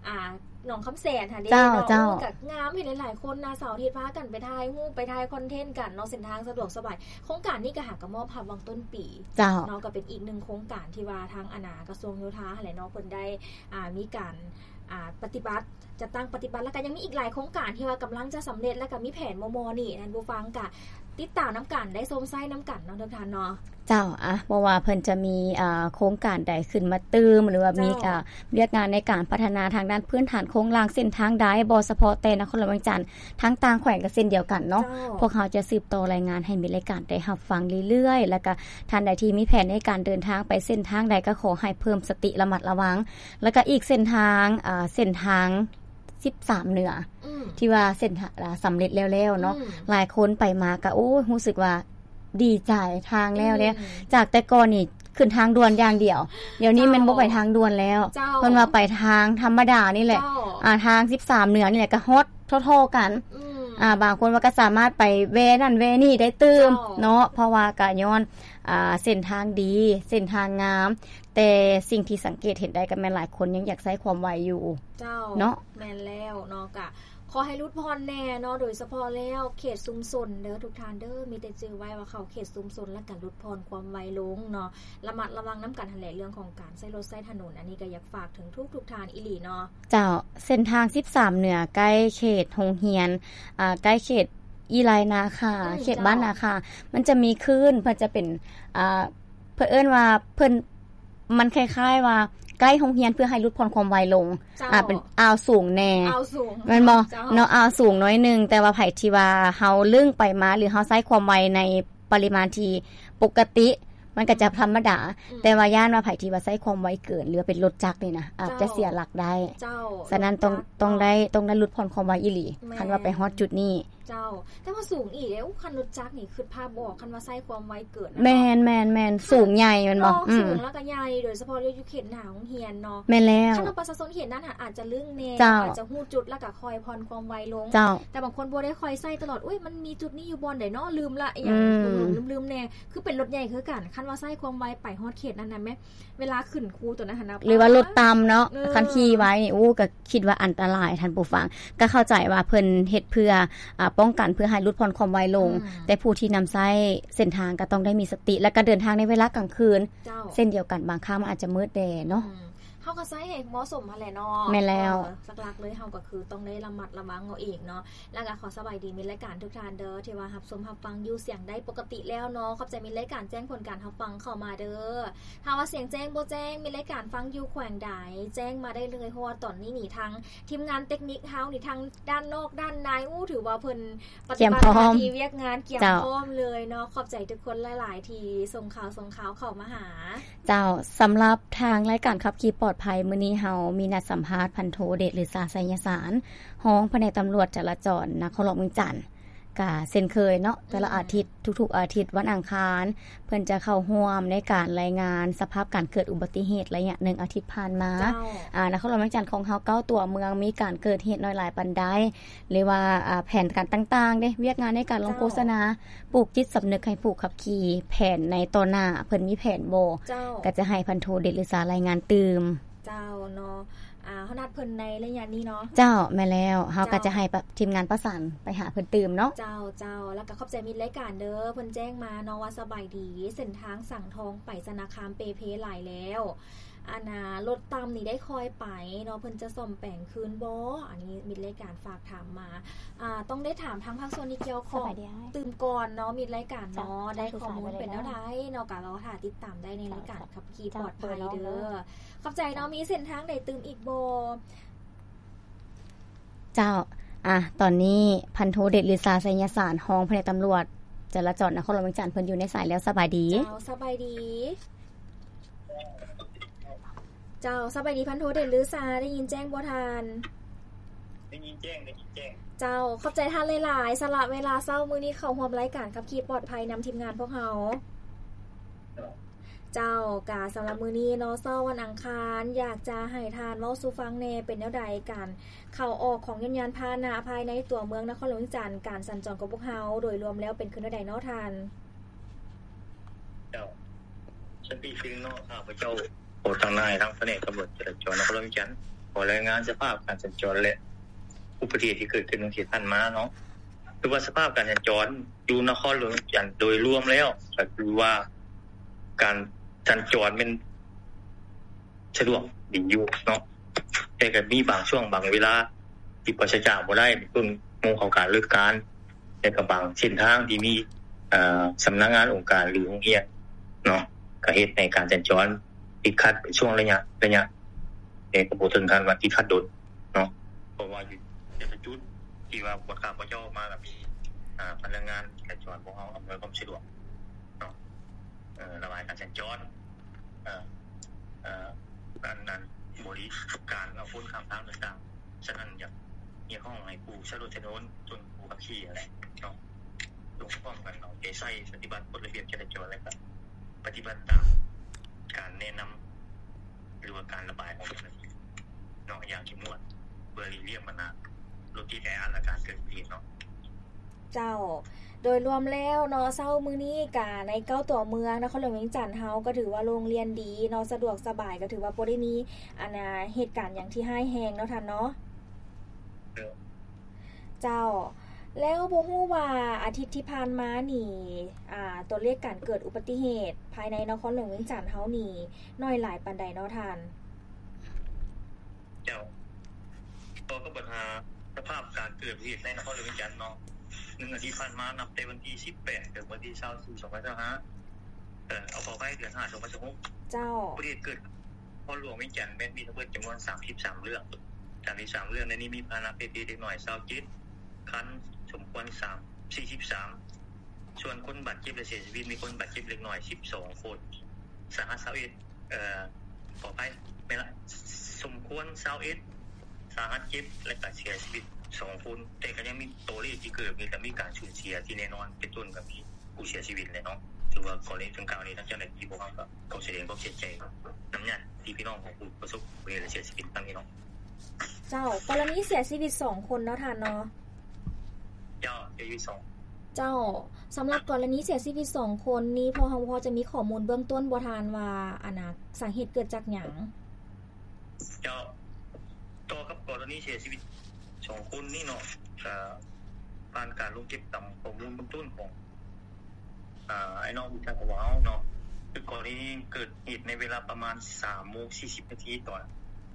ອ່າ ໜອງຄຳແສນຫັ້ນເດ້ ເຈົ້າ ເນາະ ເຈົ້າ ໂອ້ ກໍງາມ ເຫັນຫຼາຍໆຄົນນະ ເສົາອາທິດພາກັນໄປຖ່າຍຮູບ ໄປຖ່າຍຄອນເທັນກັນເນາະ ເສັ້ນທາງສະດວກສະບາຍ ໂຄງການນີ້ກໍຫາກໍມອບຮັບຫວ່າງຕົ້ນປີ ເຈົ້າ ເນາະ ກໍເປັນອີກໜຶ່ງໂຄງການທີ່ວ່າທາງອັນນະ ກະຊວງໂຍທາຫັ້ນແຫຼະເນາະ ເພິ່ນໄດ້ ອ່າ ມີການ ອ່າ ປະຕິບັດ ຈັດຕັ້ງປະຕິບັດ ແລ້ວກໍຍັງມີອີກຫຼາຍໂຄງການທີ່ວ່າກຳລັງຈະສຳເລັດ ແລ້ວກໍມີແຜນມໍ່ໆນີ້ ທ່ານຜູ້ຟັງກະຕິດຕາມນຳກັນ ໄດ້ຊົມໃຊ້ນຳກັນເນາະ ທຸກທ່ານເນາະ ເຈົ້າ ອ່ະ ບໍ່ວ່າເພິ່ນຈະມີ ອ່າ ໂຄງການໃດຂຶ້ນມາຕື່ມ ຫຼືວ່າມີ ເຈົ້າ ອ່າ ວຽກງານໃນການພັດທະນາທາງດ້ານພື້ນຖານໂຄງລ່າງເສັ້ນທາງໃດ ບໍ່ສະເພາະແຕ່ນະຄອນຫຼວງວຽງຈັນ ທາງຕ່າງແຂວງກໍເຊັ່ນດຽວກັນເນາະ ເຈົ້າ ພວກເຮົາຈະສືບຕໍ່ລາຍງານໃຫ້ມິດລາຍການໄດ້ຮັບຟັງເລື້ອຍໆ ແລ້ວກໍທ່ານໃດທີ່ມີແຜນໃນການເດີນທາງໄປເສັ້ນທາງໃດ ກໍຂໍໃຫ້ເພີ່ມສະຕິລະມັດລະວັງ ແລ້ວກໍອີກເສັ້ນທາງ ອ່າ ເສັ້ນທາງສິບສາມເໜືອ ອືມ ທີ່ວ່າເສັ້ນທາງ ອ່າ ສຳເລັດແລ້ວໆເນາະ ອືມ ຫຼາຍຄົນໄປມາກໍ ໂອ້ຍ ຮູ້ສຶກວ່າດີໃຈ ທາງແລ້ວເດ້ ອືມ ຈາກແຕ່ກ່ອນນີ້ຂຶ້ນທາງດ່ວນຢ່າງດຽວ ດຽວນີ້ແມ່ນບໍ່ໄປທາງດ່ວນແລ້ວ ເຈົ້າ ເພິ່ນວ່າໄປທາງທຳມະດານີ້ແຫຼະ ເຈົ້າ ອ່າ ທາງສິບສາມເໜືອນີ້ແຫຼະ ກໍຮອດທໍ່ໆກັນ ອືມ ອ່າ ບາງຄົນວ່າກໍສາມາດໄປແວ່ນັ້ນແວ່ນີ້ໄດ້ຕື່ມ ເຈົ້າ ເນາະ ເພາະວ່າກໍຍ້ອນ ອ່າ ເສັ້ນທາງດີ ເສັ້ນທາງງາມ ແຕ່ສິ່ງທີ່ສັງເກດເຫັນໄດ້ກໍແມ່ນຫຼາຍຄົນຍັງຢາກໃຊ້ຄວາມໄວຢູ່ ເຈົ້າ ເນາະ ແມ່ນແລ້ວເນາະ ກະຂໍໃຫ້ຫຼຸດຜ່ອນແດ່ເນາະ ໂດຍສະເພາະແລ້ວເຂດຊຸມຊົນເດີ ທຸກທ່ານເດີ ມີແຕ່ຈື່ໄວ້ວ່າເຂົ້າເຂດຊຸມຊົນ ແລ້ວກະຫຼຸດຜ່ອນຄວາມໄວລົງເນາະ ລະມັດລະວັງນຳກັນຫັ້ນແຫຼະ ເລື່ອງຂອງການໃຊ້ລົດໃຊ້ຖະໜົນ ອັນນີ້ກໍຢາກຝາກເຖິງທຸກໆທ່ານອີ່ຫຼີເນາະ ເຈົ້າ ເສັ້ນທາງສິບສາມເໜືອ ໃກ້ເຂດໂຮງຮຽນ ອ່າ ໃກ້ເຂດອີ່ໄລນາຄາ ອືມ ເຂດ ເຈົ້າ ບ້ານນາຄາ ມັນຈະມີຄື້ນ ເພິ່ນຈະເປັນ ອ່າ ເພິ່ນເອີ້ນວ່າເພິ່ນ ມັນຄ້າຍໆວ່າໃກ້ໂຮງຮຽນ ເພື່ອໃຫ້ຫຼຸດຜ່ອນຄວາມໄວລົງ ເຈົ້າ ອ່າ ເປັນອ່າວສູງແດ່ ອ່າວສູງ ແມ່ນບໍ່ ເຈົ້າ ເນາະ ອ່າວສູງໜ້ອຍໜຶ່ງ ແຕ່ວ່າໃຜທີ່ວ່າເຮົາລຶ້ງໄປມາ ຫຼືເຮົາໃຊ້ຄວາມໄວໃນປະລິມານທີ່ປົກກະຕິ ມັນກໍຈະທຳມະດາ ອືມ ແຕ່ວ່າຢ້ານວ່າໃຜທີ່ວ່າໃຊ້ຄວາມໄວເກີນ ຫຼືວ່າເປັນລົດຈັກນີ້ນະ ອາດຈະ ເຈົ້າ ເສຍຫຼັກໄດ້ ເຈົ້າ ສະນັ້ນຕ້ອງ ລົດຈັກ ຕ້ອງໄດ້ ເນາະ ຕ້ອງໄດ້ຫຼຸດຜ່ອນຄວາມໄວອີ່ຫຼີ ແມ່ນ ຄັນວ່າໄປຮອດຈຸດນີ້ ເຈົ້າ ແຕ່ວ່າສູງອີ່ຫຼີເດ້ ໂອ້ ຄັນລົດຈັກນີ້ ຄິດພາບບໍ່ອອກ ຄັນວ່າໃຊ້ຄວາມໄວເກີນນະ ແມ່ນ ເນາະ ແມ່ນ ແມ່ນ ສູງໃຫຍ່ແມ່ນບໍ່ ເອີ ສູງ ອືມ ແລ້ວກໍໃຫຍ່ ໂດຍສະເພາະຢູ່ເຂດໜ້າໂຮງຮຽນເນາະ ແມ່ນແລ້ວ ຄັນວ່າປະຊາຊົນເຂດນັ້ນຫັ້ນ ອາດຈະລຶ້ງແດ່ ເຈົ້າ ອາດຈະຮູ້ຈຸດ ແລ້ວກໍຄ່ອຍຜ່ອນຄວາມໄວລົງ ເຈົ້າ ແຕ່ບາງຄົນບໍ່ໄດ້ຄ່ອຍໃຊ້ຕະຫຼອດ ໂອ້ຍ ມັນມີຈຸດນີ້ຢູ່ບ່ອນໃດເນາະ ລືມລະ ອີ່ຫຍັງ ອືມ ລືມໆແດ່ ຄືເປັນລົດໃຫຍ່ຄືກັນ ຄັນວ່າໃຊ້ຄວາມໄວໄປຮອດເຂດນັ້ນນະແມ່ ເວລາຂຶ້ນຄູຕົວນັ້ນຫັ້ນນະ ຫຼືວ່າລົດຕ່ຳເນາະ ເອີ ຄັນຂີ່ໄວນີ້ ໂອ້ ກໍຄິດວ່າອັນຕະລາຍ ທ່ານຜູ້ຟັງ ກໍເຂົ້າໃຈວ່າເພິ່ນເຮັດເພື່ອ ອ່າ ປ້ອງກັນ ເພື່ອໃຫ້ຫຼຸດຜ່ອນຄວາມໄວລົງ ອືມ ແຕ່ຜູ້ທີ່ນຳໃຊ້ເສັ້ນທາງກໍຕ້ອງໄດ້ມີສະຕິ ແລ້ວກໍເດີນທາງໃນເວລາກາງຄືນ ເຈົ້າ ເຊັ່ນດຽວກັນ ບາງຄັ້ງມັນອາດຈະມືດແດ່ເນາະ ອືມ ເຮົາກໍໃຊ້ໃຫ້ເໝາະສົມຫັ້ນແຫຼະເນາະ. ແມ່ນແລ້ວ. ເອີ ຫຼັກໆເລີຍເຮົາກໍຄືຕ້ອງໄດ້ລະມັດລະວັງເອົາເອງເນາະ. ແລ້ວກໍຂໍສະບາຍດີມິດລາຍການທຸກທ່ານເດີ ທີ່ວ່າຮັບຊົມຮັບຟັງຢູ່ສຽງໄດ້ປົກກະຕິແລ້ວເນາະ. ຂອບໃຈມິດລາຍການແຈ້ງຜົນການຮັບຟັງເຂົ້າມາເດີ. ຖ້າວ່າສຽງແຈ້ງບໍ່ແຈ້ງ ມິດລາຍການຟັງຢູ່ແຂວງໃດ ແຈ້ງມາໄດ້ເລີຍ ເພາະວ່າຕອນນີ້ນີ້ທາງທີມງານເຕັກນິກເຮົານີ້ ທັງດ້ານນອກດ້ານໃນ ໂອ້ ຖືວ່າເພິ່ນປະຕິບັດໜ້າທີ່ວຽກງານກຽມພ້ອມເລີຍເນາະ. ເຈົ້າ. ຂອບໃຈທຸກຄົນຫຼາຍໆ ທີ່ສົ່ງຂ່າວ ສົ່ງຂ່າວເຂົ້າມາຫາ. ເຈົ້າ, ສຳລັບທາງລາຍການຂັບຂີ່ປອດໄພ ມື້ນີ້ເຮົາມີນັດສຳພາດພັນໂທ ເດດລືຊາ ໄຊຍະສານ ຮອງພະແນກຕຳຫຼວດຈະລາຈອນນະຄອນຫຼວງວຽງຈັນ. ກະເຊັ່ນເຄີຍເນາະ, ແຕ່ລະອາທິດ ອືມ ທຸກໆອາທິດວັນອັງຄານ ເພິ່ນຈະເຂົ້າຮ່ວມໃນການລາຍງານສະພາບການເກີດອຸບັດຕິເຫດໄລຍະໜຶ່ງອາທິດຜ່ານມາ. ເຈົ້າ. ອາ ນະຄອນຫຼວງວຽງຈັນຂອງເຮົາ ເກົ້າຕົວເມືອງ ມີການເກີດເຫດໜ້ອຍຫຼາຍປານໃດ ຫຼືວ່າ ອາ ແຜນການຕ່າງໆເດ້ ວຽກງານໃນການລົງໂຄສະນາ ເຈົ້າ ປູກຈິດສຳນຶກໃຫ້ຜູ້ຂັບຂີ່ ແຜນໃນຕໍ່ໜ້າເພິ່ນມີແຜນບໍ່? ເຈົ້າ. ກໍຈະໃຫ້ພັນໂທ ເດດລືຊາ ລາຍງານຕື່ມ. ເຈົ້າເນາະ. ອາ ເຮົານັດເພິ່ນໃນໄລຍະນີ້ເນາະ. ເຈົ້າ, ແມ່ນແລ້ວ. ເຮົາກໍຈະໃຫ້ປະ ທີມງານປະສານໄປຫາເພິ່ນຕື່ມເນາະ. ເຈົ້າ, ເຈົ້າ. ແລ້ວກໍຂອບໃຈມິດລາຍການເດີ ເພິ່ນແຈ້ງມາເນາະວ່າ ສະບາຍດີ ເສັ້ນທາງສັງທອງໄປຊະນະຄາມເປ່ເພຫຼາຍແລ້ວ. ອັນນ່າ ລົດຕ່ຳນີ້ໄດ້ຄ່ອຍໄປເນາະ ເພິ່ນຈະສ້ອມແປງຄືນບໍ່? ອັນນີ້ມິດລາຍການຝາກຖາມມາ. ອາ ຕ້ອງໄດ້ຖາມທາງພາກສ່ວນທີ່ກ່ຽວຂ້ອງຕື່ມກ່ອນເນາະ ມິດລາຍການເນາະ. ໄດ້ຂໍ້ມູນເປັນແນວໃດເນາະ ກໍລໍຖ້າຕິດຕາມໄດ້ໃນລາຍການຂັບຂີ່ປອດໄພເດີ. ຂອບໃຈເນາະ. ມີເສັ້ນທາງໃດຕື່ມອີກບໍ່? ເຈົ້າ. ອາ ຕອນນີ້ພັນໂທ ເດດລືຊາ ໄຊຍະສານ ຮອງພະແນກຕຳຫຼວດຈະລາຈອນນະຄອນຫຼວງວຽງຈັນ ເພິ່ນຢູ່ໃນສາຍແລ້ວ. ສະບາຍດີ. ເຈົ້າ, ສະບາຍດີ. ເຈົ້າ, ສະບາຍດີພັນໂທ ເດດລືຊາ ໄດ້ຍິນແຈ້ງບໍ່ທ່ານ? ໄດ້ຍິນແຈ້ງ, ໄດ້ຍິນແຈ້ງ. ເຈົ້າ, ຂອບໃຈທ່ານຫຼາຍໆ ສະຫຼະເວລາເຊົ້າມື້ນີ້ເຂົ້າຮ່ວມລາຍການຂັບຂີ່ປອດໄພນຳທີມງານພວກເຮົາ. ເຈົ້າ, ກະສຳລັບມື້ນີ້ເນາະ ເຊົ້າວັນອັງຄານ ຢາກຈະໃຫ້ທ່ານເວົ້າສູ່ຟັງແດ່ ເປັນແນວໃດການເຂົ້າອອກຂອງຍົນຍານພາຫະນະພາຍໃນຕົວເມືອງນະຄອນຫຼວງວຽງຈັນ ການສັນຈອນຂອງພວກເຮົາໂດຍລວມແລ້ວເປັນຄືແນວໃດເນາະທ່ານ? ເຈົ້າ, ສະປີດໜຶ່ງເນາະ ຂ້າພະເຈົ້າຂໍທາງນາຍທາງພະແນກຕຳຫຼວດຈະລາຈອນນະຄອນຫຼວງວຽງຈັນ ຂໍລາຍງານສະພາບການສັນຈອນ ແລະ ອຸບັດຕິເຫດທີ່ເກີດຂຶ້ນໃນເຂດຜ່ານມາເນາະ. ຄືວ່າສະພາບການສັນຈອນຢູ່ນະຄອນຫຼວງວຽງຈັນໂດຍລວມແລ້ວ ກໍຄືວ່າການສັນຈອນແມ່ນສະດວກດີຢູ່ເນາະ, ແຕ່ກໍມີບາງຊ່ວງບາງເວລາທີ່ປາສະຈາກບໍ່ໄດ້ ເປັນຕົ້ນໂມງເຂົ້າການເລີກການ ແລະກໍບາງເສັ້ນທາງທີ່ມີ ເອີ ສຳນັກງານອົງການ ຫຼື ໂຮງຮຽນເນາະ ກໍເຮັດໃຫ້ການສັນຈອນຕິດຂັດເປັນຊ່ວງໄລຍະ ໄລຍະ ແຕ່ກໍບໍ່ເຖິງຂັ້ນວ່າຕິດຂັດດົນເນາະ ເພາະວ່າຢູ່ແຕ່ລະຈຸດທີ່ວ່າພວກຂ້າພະເຈົ້າມາ ກໍມີ ອາ ພະນັກງານຈະລາຈອນພວກເຮົາອຳນວຍຄວາມສະດວກເນາະ ເອີ ລະບາຍການສັນຈອນ ເອີ ເອີ ອັນນັ້ນ ບໍລິການເອົາຄົນຂ້າມທາງຕ່າງໆ. ສະນັ້ນ ຢາກຮຽກຮ້ອງໃຫ້ຜູ້ໃຊ້ລົດໃຊ້ຖະໜົນ ເຊິ່ງຜູ້ຂັບຂີ່ຫັ້ນແຫຼະເນາະ ຈົ່ງພ້ອມກັນເອົາໃຈໃສ່ປະຕິບັດກົດລະບຽບຈະລາຈອນ ແລະ ກະປະຕິບັດຕາມການແນະນຳ ຫຼືວ່າການລະບາຍຂອງເຈົ້າໜ້າທີ່ເນາະ ຢ່າງເຂັ້ມງວດ ເພື່ອຫຼີກລ້ຽງບັນຫາລົດຕິດແອອັດ ແລະ ການເກີດອຸບັດຕິເຫດເນາະ. ເຈົ້າ, ໂດຍລວມແລ້ວເນາະ ເຊົ້າມື້ນີ້ກະໃນເກົ້າຕົວເມືອງນະຄອນຫຼວງວຽງຈັນເຮົາກໍຖືວ່າໂລ່ງລ່ຽນດີເນາະ ສະດວກສະບາຍ ກໍຖືວ່າບໍ່ໄດ້ມີອັນນາ ເຫດການຫຍັງທີ່ຮ້າຍແຮງເນາະທ່ານເນາະ. ເຈົ້າ, ແລ້ວບໍ່ຮູ້ວ່າອາທິດທີ່ຜ່ານມານີ້ ອາ ຕົວເລກການເກີດອຸບັດຕິເຫດພາຍໃນນະຄອນຫຼວງວຽງຈັນເຮົານີ້ ໜ້ອຍຫຼາຍປານໃດເນາະທ່ານ? ເຈົ້າ, ຕໍ່ກັບບັນຫາສະພາບການເກີດອຸບັດຕິເຫດໃນນະຄອນຫຼວງວຽງຈັນເນາະ ໜຶ່ງອາທິດຜ່ານມາ ນັບແຕ່ວັນທີສິບແປດ ເຖິງວັນທີຊາວສີ່ ສອງພັນຊາວຫ້າ ເອີ ເອົາ ຂໍອະໄພ ເດືອນຫ້າ ສອງພັນຊາວຫົກ ເຈົ້າ ອຸບັດຕິເຫດເກີດນະຄອນຫຼວງວຽງຈັນ ແມ່ນມີທັງເບິດຈຳນວນສາມສິບສາມເລື່ອງ. ສາມສິບສາມເລື່ອງໃນນີ້ມີພາຫະນະເພດເພເດັກນ້ອຍຊາວເຈັດຄັນ, ສົມຄວນສາມ ສີ່ສິບສາມ ສ່ວນຄົນບາດເຈັບ ແລະ ເສຍຊີວິດ ມີຄົນບາດເຈັບເລັກນ້ອຍສິບສອງຄົນ, ສາຫັດຊາວເອັດ ເອີ ຂໍອະໄພ ແມ່ນລະ ສົມຄວນຊາວເອັດ, ສາຫັດເຈັດ ແລະ ກະເສຍຊີວິດສອງຄົນ, ແຕ່ກໍຍັງມີຕົວເລກທີ່ເກີດ ມີ ແລະ ມີການສູນເສຍທີ່ແນ່ນອນ ເປັນຕົ້ນກໍມີຜູ້ເສຍຊີວິດແຫຼະເນາະ. ຖືວ່າກໍລະນີດັ່ງກ່າວນີ້ ທາງເຈົ້າໜ້າທີ່ພວກເຮົາກໍຕ້ອງສະແດງຄວາມເສຍໃຈນຳຍາດຕິພີ່ນ້ອງຂອງຜູ້ປະສົບອຸບັດຕິເຫດ ແລະ ເສຍຊີວິດຄັ້ງນີ້ເນາະ. ເຈົ້າ, ກໍລະນີເສຍຊີວິດສອງຄົນເນາະທ່ານເນາະ. ເຈົ້າ, ເສຍຊີວິດສອງ. ເຈົ້າ, ສຳລັບກໍລະນີເສຍຊີວິດສອງຄົນນີ້ ພໍ ພໍຈະມີຂໍ້ມູນເບື້ອງຕົ້ນບໍ່ທ່ານວ່າ ອັນນ່າ ສາເຫດເກີດຈາກຫຍັງ? ເຈົ້າ, ຕໍ່ກັບກໍລະນີເສຍຊີວິດສອງຄົນນີ້ເນາະ ກະຜ່ານການລົງເກັບກຳຂໍ້ມູນເບື້ອງຕົ້ນຂອງ ອາ ອ້າຍນ້ອງທີ່ທາງຂອງເຮົາເນາະ ຄືກໍລະນີນີ້ເກີດເຫດໃນເວລາປະມານສາມໂມງສີ່ສິບນາທີ ຕອນ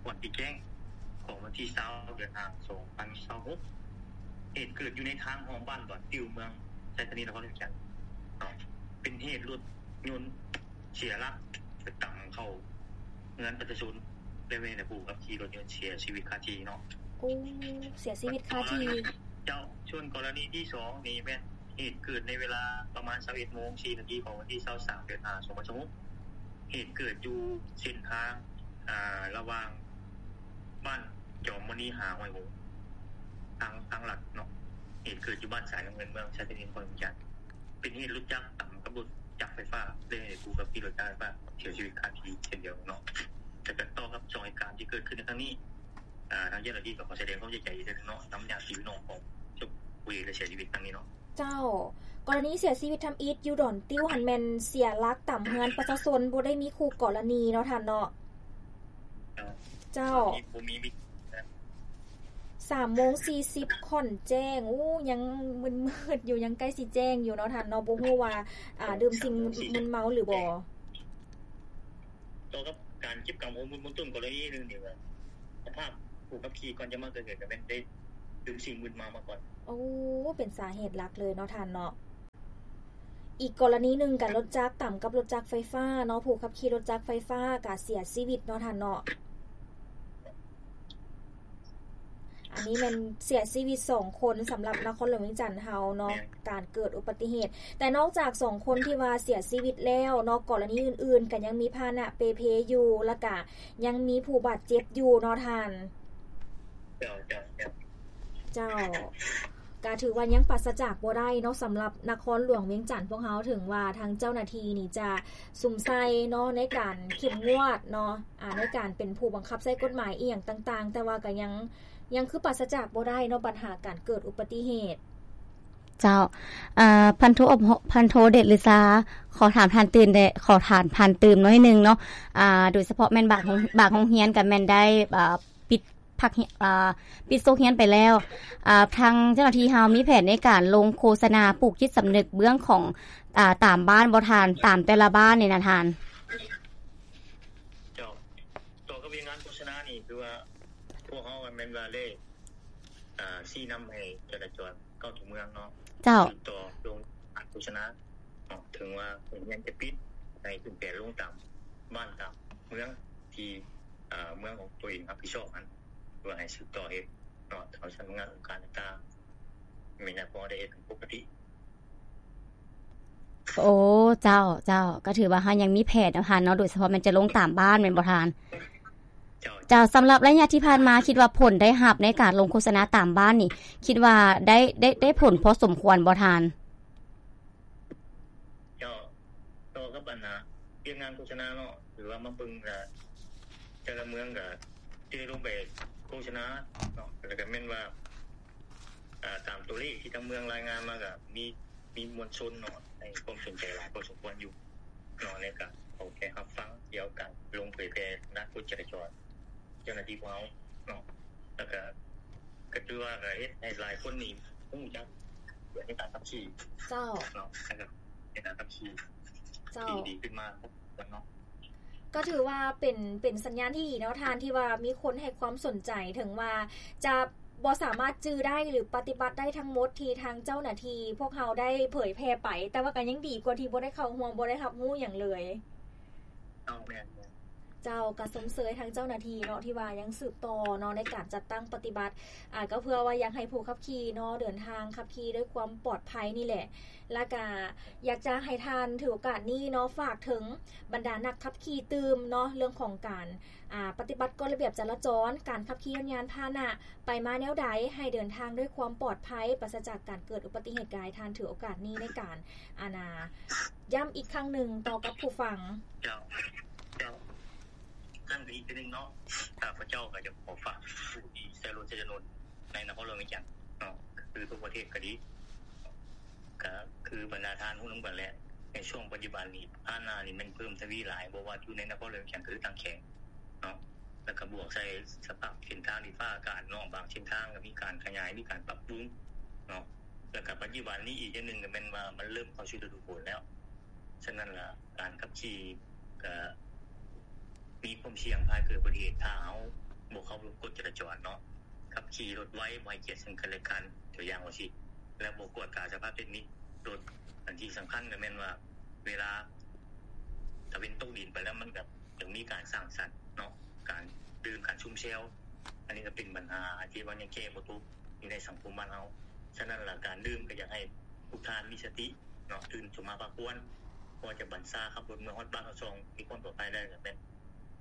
ວັນທີ່ແຈ້ງຂອງວັນທີຊາວ ເດືອນຫ້າ ສອງພັນຊາວຫົກ ເຫດເກີດຢູ່ໃນທາງຮ່ອມບ້ານດອນຕິວ ເມືອງໄຊທານີ ນະຄອນຫຼວງວຽງຈັນເນາະ ເປັນເຫດລົດຍົນເສຍຫຼັກໄປຕຳເຂົ້າເຮືອນປະຊາຊົນ ແລະ ແມ່ນຜູ້ຂັບຂີ່ລົດຍົນເສຍຊີວິດຄາທີ່ເນາະ. ໂອ້ ເສຍຊີວິດຄາທີ່. ເຈົ້າ ສ່ວນກໍລະນີທີສອງນີ້ແມ່ນເຫດເກີດໃນເວລາປະມານຊາວເອັດໂມງສີ່ນາທີຂອງວັນທີຊາວສາມ ເດືອນຫ້າ ສອງພັນຊາວຫົກ ເຫດເກີດຢູ່ເສັ້ນທາງ ອ່າ ລະຫວ່າງບ້ານຈອມມະນີ ຫາຫ້ວຍຫົງ ທາງ ທາງຫຼັກເນາະ ເຫດເກີດຢູ່ບ້ານສາຍນ້ຳເງິນ ເມືອງໄຊທານີ ນະຄອນຫຼວງວຽງຈັນ ເປັນເຫດລົດຈັກຕຳກັບລົດຈັກໄຟຟ້າ ແລະ ຜູ້ຂັບຂີ່ລົດຈັກໄຟຟ້າເສຍຊີວິດຄາທີ່ເຊັ່ນດຽວເນາະ. ແລະ ກໍຕໍ່ກັບສອງເຫດການທີ່ເກີດຂຶ້ນໃນຄັ້ງນີ້ ອ່າ ທາງເຈົ້າໜ້າທີ່ກໍຂໍສະແດງຄວາມເສຍໃຈອີກເທື່ອໜຶ່ງເນາະ ນຳຍາດຕິພີ່ນ້ອງຂອງຜູ້ເສຍຊີວິດຄັ້ງນີ້ເນາະ. ເຈົ້າ ກໍລະນີເສຍຊີວິດທຳອິດຢູ່ດອນຕິວຫັ້ນແມ່ນເສຍຫຼັກຕຳເຮືອນປະຊາຊົນ ບໍ່ໄດ້ມີຄູ່ກໍລະນີເນາະທ່ານເນາະ. ເຈົ້າ ເຈົ້າ ບໍ່ມີ ສາມໂມງສີ່ສິບຂ້ອນແຈ້ງ ໂອ້ ຍັງມືດໆຢູ່ ຍັງໃກ້ຊິແຈ້ງຢູ່ເນາະທ່ານເນາະ ບໍ່ຮູ້ວ່າ ອ່າ ດື່ມສິ່ງມຶນເມົາຫຼືບໍ່. ຕໍ່ກັບການເກັບກຳຂໍ້ມູນເບື້ອງຕົ້ນກໍລະນີໜຶ່ງນີ້ວ່າ ສະພາບຜູ້ຂັບຂີ່ກ່ອນຈະມາເກີດເຫດກໍແມ່ນໄດ້ດື່ມສິ່ງມຶນເມົາມາກ່ອນ. ໂອ້ ເປັນສາເຫດຫຼັກເລີຍເນາະທ່ານເນາະ. ອີກກໍລະນີໜຶ່ງກໍລົດຈັກຕຳກັບລົດຈັກໄຟຟ້າເນາະ ຜູ້ຂັບຂີ່ລົດຈັກໄຟຟ້າກໍເສຍຊີວິດເນາະທ່ານເນາະ. ອັນນີ້ແມ່ນເສຍຊີວິດສອງຄົນສຳລັບນະຄອນຫຼວງວຽງຈັນເຮົາເນາະ ແມ່ນ ການເກີດອຸບັດຕິເຫດ. ແຕ່ນອກຈາກສອງຄົນທີ່ວ່າເສຍຊີວິດແລ້ວເນາະ ກໍລະນີອື່ນໆກໍຍັງມີພາຫະນະເປ່ເພຢູ່ ແລ້ວກະຍັງມີຜູ້ບາດເຈັບຢູ່ເນາະທ່ານ. ເຈົ້າ ເຈົ້າ ເຈົ້າ ເຈົ້າ ກະຖືວ່າຍັງປາສະຈາກບໍ່ໄດ້ເນາະ ສຳລັບນະຄອນຫຼວງວຽງຈັນພວກເຮົາ ເຖິງວ່າທາງເຈົ້າໜ້າທີ່ນີ້ຈະສຸມໃສ່ເນາະ ໃນການເຂັ້ມງວດເນາະ ອ່າ ໃນການເປັນຜູ້ບັງຄັບໃຊ້ກົດໝາຍອີ່ຫຍັງຕ່າງໆ ແຕ່ວ່າກໍຍັງ ຍັງຄືປາສະຈາກບໍ່ໄດ້ເນາະ ບັນຫາການເກີດອຸບັດຕິເຫດ. ເຈົ້າ ເອີ ພັນໂທ ພັນໂທເດດລືຊາ ຂໍຖາມທ່ານຕື່ມແດ່ ຂໍຖາມທ່ານຕື່ມໜ້ອຍໜຶ່ງເນາະ ອ່າ ໂດຍສະເພາະແມ່ນບາງ ບາງໂຮງຮຽນກໍແມ່ນໄດ້ ອ່າ ປິດພາກ ອ່າ ປິດໂຊກຮຽນໄປແລ້ວ ອ່າ ທາງເຈົ້າໜ້າທີ່ເຮົາມີແຜນໃນການລົງໂຄສະນາປູກຈິດສຳນຶກເບື້ອງຂອງ ອ່າ ຕາມບ້ານບໍ່ທ່ານ ຕາມແຕ່ລະບ້ານນີ້ນະທ່ານ? ເຈົ້າ ຕໍ່ກັບວຽກງານໂຄສະນານີ້ ຄືວ່າພວກເຮົາແມ່ນວ່າໄດ້ ອ່າ ຊີ້ນຳໃຫ້ຈະລາຈອນເຂົ້າຕົວເມືອງເນາະ ເຈົ້າ ຕໍ່ລົງໂຄສະນາເນາະ ເຖິງວ່າໂຮງຮຽນຈະປິດ ໃຫ້ຂຶ້ນແປລົງຕາມບ້ານຕາມເມືອງທີ່ ອ່າ ເມືອງຂອງຕົວເອງຮັບຜິດຊອບຫັ້ນ ເພື່ອໃຫ້ສືບຕໍ່ເຮັດເນາະ ທາງສຳນັກງານອົງການຕ່າງໆ ແມ່ນວ່າພໍໄດ້ເຮັດເປັນປົກກະຕິ. ໂອ້ ເຈົ້າ ເຈົ້າ ກໍຖືວ່າເຮົາຍັງມີແຜນເນາະທ່ານເນາະ ໂດຍສະເພາະແມ່ນຈະລົງຕາມບ້ານແມ່ນບໍ່ທ່ານ? ເຈົ້າ ເຈົ້າ ສຳລັບໄລຍະທີ່ຜ່ານມາ ຄິດວ່າຜົນໄດ້ຮັບໃນການລົງໂຄສະນາຕາມບ້ານນີ້ ຄິດວ່າໄດ້ ໄດ້ ໄດ້ຜົນພໍສົມຄວນບໍ່ທ່ານ? ເຈົ້າ ຕໍ່ກັບອັນນ່າ ວຽກງານໂຄສະນາເນາະ ຫຼືວ່າມາເບິ່ງ ອ່າ ແຕ່ລະເມືອງກໍຈະໄດ້ລົງໄປໂຄສະນາເນາະ ແລ້ວກໍແມ່ນວ່າ ອ່າ ຕາມຕົວເລກທີ່ທາງເມືອງລາຍງານມາ ກໍມີ ມີມວນຊົນເນາະ ໃຫ້ຄວາມສົນໃຈຫຼາຍພໍສົມຄວນຢູ່ເນາະ ໃນການເອົາໃຈຮັບຟັງກ່ຽວກັບການລົງເຜີຍແຜ່ທາງດ້ານກົດຈະລາຈອນ ເຈົ້າໜ້າທີ່ຂອງເຮົາເນາະ ແລ້ວກະ ກໍຖືວ່າກໍເຮັດໃຫ້ຫຼາຍຄົນນີ້ຮູ້ຈັກໃນການຂັບຂີ່ ເຈົ້າ ເນາະ ໃນການຂັບຂີ່ ເຈົ້າ ທີ່ດີຂຶ້ນມາເນາະ. ກໍຖືວ່າເປັນ ເປັນສັນຍານທີ່ດີເນາະທ່ານ ທີ່ວ່າມີຄົນໃຫ້ຄວາມສົນໃຈ ເຖິງວ່າຈະບໍ່ສາມາດຈື່ໄດ້ ຫຼື ປະຕິບັດໄດ້ທັງໝົດທີ່ທາງເຈົ້າໜ້າທີ່ພວກເຮົາໄດ້ເຜີຍແຜ່ໄປ ແຕ່ວ່າກໍຍັງດີກວ່າທີ່ບໍ່ໄດ້ເຂົ້າຮ່ວມ ບໍ່ໄດ້ຮັບຮູ້ຫຍັງເລີຍ. ເຈົ້າ ແມ່ນ ແມ່ນ ເຈົ້າ ກໍຊົມເຊີຍທາງເຈົ້າໜ້າທີ່ເນາະ ທີ່ວ່າຍັງສືບຕໍ່ເນາະ ໃນການຈັດຕັ້ງປະຕິບັດ ອ່າ ກໍເພື່ອວ່າຢາກໃຫ້ຜູ້ຂັບຂີ່ເນາະ ເດີນທາງຂັບຂີ່ດ້ວຍຄວາມປອດໄພນີ້ແຫຼະ ແລ້ວກະຢາກຈະໃຫ້ທ່ານຖືໂອກາດນີ້ເນາະ ຝາກເຖິງບັນດານັກຂັບຂີ່ຕື່ມເນາະ ເລື່ອງຂອງການ ອ່າ ປະຕິບັດກົດລະບຽບຈະລາຈອນ ການຂັບຂີ່ຍານພາຫະນະ ໄປມາແນວໃດ ໃຫ້ເດີນທາງດ້ວຍຄວາມປອດໄພ ປາສະຈາກການເກີດອຸບັດຕິເຫດ. ກໍໃຫ້ທ່ານຖືໂອກາດນີ້ໃນການ ອັນນ່າ ຢ້ຳອີກຄັ້ງໜຶ່ງຕໍ່ກັບຜູ້ຟັງ. ເຈົ້າ ເຈົ້າ ຄັ້ງອີກເທື່ອໜຶ່ງເນາະ ຂ້າພະເຈົ້າກໍຢາກຂໍຝາກຜູ້ທີ່ໃຊ້ລົດໃຊ້ຖະໜົນໃນນະຄອນຫຼວງວຽງຈັນເນາະ ຄືທົ່ວປະເທດກໍດີ ກໍຄືບັນດາທ່ານຮູ້ນຳກັນແຫຼະ ໃນຊ່ວງປັດຈຸບັນນີ້ ພາຫະນະນີ້ແມ່ນເພີ່ມທະວີຫຼາຍ ບໍ່ວ່າຢູ່ໃນນະຄອນຫຼວງວຽງຈັນ ຫຼື ຕ່າງແຂວງເນາະ ແລ້ວກໍບວກໃສ່ສະພາບເສັ້ນທາງ ດິນຟ້າອາກາດເນາະ ບາງເສັ້ນທາງກໍມີການຂະຫຍາຍ ມີການປັບປຸງເນາະ ແລ້ວກໍປັດຈຸບັນນີ້ອີກຢ່າງໜຶ່ງກໍແມ່ນວ່າມັນເລີ່ມເຂົ້າສູ່ລະດູຝົນແລ້ວ ສະນັ້ນລະ ການຂັບຂີ່ກະມີຄວາມສ່ຽງພາຍເກີດອຸບັດຕິເຫດ ຖ້າເຮົາບໍ່ເຄົາລົບກົດຈະລາຈອນເນາະ, ຂັບຂີ່ລົດໄວ ບໍ່ໃຫ້ກຽດເຊິ່ງກັນແລະກັນ ຕົວຢ່າງວ່າຊີ້ ແລະ ບໍ່ກວດກາສະພາບເຕັກນິກລົດ. ອັນທີ່ສຳຄັນກະແມ່ນວ່າ ເວລາຕາເວັນຕົກດິນໄປແລ້ວ ມັນກະຍັງມີການສ້າງສັນເນາະ, ການດື່ມ ການຊຸມແຊວ, ອັນນີ້ກະເປັນບັນຫາທີ່ວ່າຍັງແກ້ບໍ່ຕົກຢູ່ໃນສັງຄົມບ້ານເຮົາ. ສະນັ້ນລະ ການດື່ມກະຢາກໃຫ້ທຸກທ່ານມີສະຕິເນາະ, ຕື່ນຂຶ້ນມາພັກຜ່ອນ ພໍຈະບັນຊາຂັບລົດເມືອຮອດບ້ານຮອດຊ່ອງ ມີຄວາມປອດໄພໄດ້ ກະແມ່ນ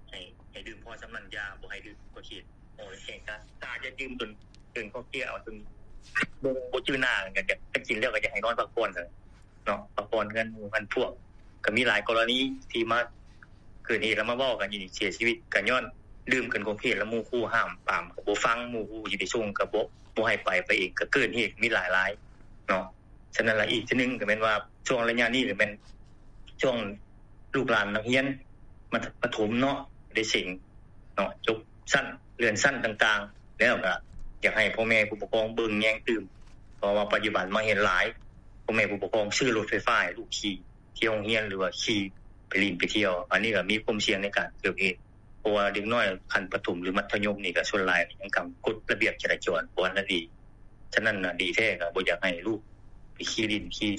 ໃຫ້ ໃຫ້ດື່ມພໍສ່ຳນັ້ນ ຢ່າ ບໍ່ໃຫ້ດື່ມເກີນຂອບເຂດ. ໂອ້ຍ ແຂງກາ ກາຢ່າດື່ມຈົນເກີນຂອບເຂດ ເອົາຈົນບໍ່ ບໍ່ຈື່ໜ້າກັນ, ກະກິນແລ້ວກະຢາກໃຫ້ນອນພັກຜ່ອນເນາະ, ພັກຜ່ອນເຮືອນໝູ່ເຮືອນພວກ. ກະມີຫຼາຍກໍລະນີທີ່ມາເກີດເຫດແລ້ວມາເວົ້າກັນຢູ່ນີ້ ເສຍຊີວິດກະຍ້ອນດື່ມເກີນຂອບເຂດ ແລ້ວໝູ່ຄູ່ຫ້າມປາມກະບໍ່ຟັງ, ໝູ່ຄູ່ຊິໄປສົ່ງກະບໍ່ ບໍ່ໃຫ້ໄປ ໄປເອງກະເກີດເຫດມີຫຼາຍໆເນາະ. ສະນັ້ນລະ ອີກເທື່ອໜຶ່ງກະແມ່ນວ່າ ຊ່ວງໄລຍະນີ້ກະແມ່ນຊ່ວງລູກຫຼານນັກຮຽນມັດ ປະຖົມເນາະ ໄດ້ເສັງເນາະ ຈົບຊັ້ນ ເລື່ອນຊັ້ນຕ່າງໆ ແລ້ວກະຢາກໃຫ້ພໍ່ແມ່ຜູ້ປົກຄອງເບິ່ງແຍງຕື່ມ, ເພາະວ່າປັດຈຸບັນມາເຫັນຫຼາຍ ພໍ່ແມ່ຜູ້ປົກຄອງຊື້ລົດໄຟຟ້າໃຫ້ລູກຂີ່ ທີ່ໂຮງຮຽນ ຫຼືວ່າຂີ່ໄປຫຼິ້ນໄປທ່ຽວ, ອັນນີ້ກະມີຄວາມສ່ຽງໃນການເກີດເຫດ ເພາະວ່າເດັກນ້ອຍຂັ້ນປະຖົມ ຫຼື ມັດທະຍົມນີ້ກະສ່ວນຫຼາຍຍັງກຳກົດລະບຽບຈະລາຈອນບໍ່ທັນໄດ້ດີ. ສະນັ້ນນະ ດີແທ້ກະບໍ່ຢາກໃຫ້ລູກໄປຂີ່ຫຼິ້ນຂີ່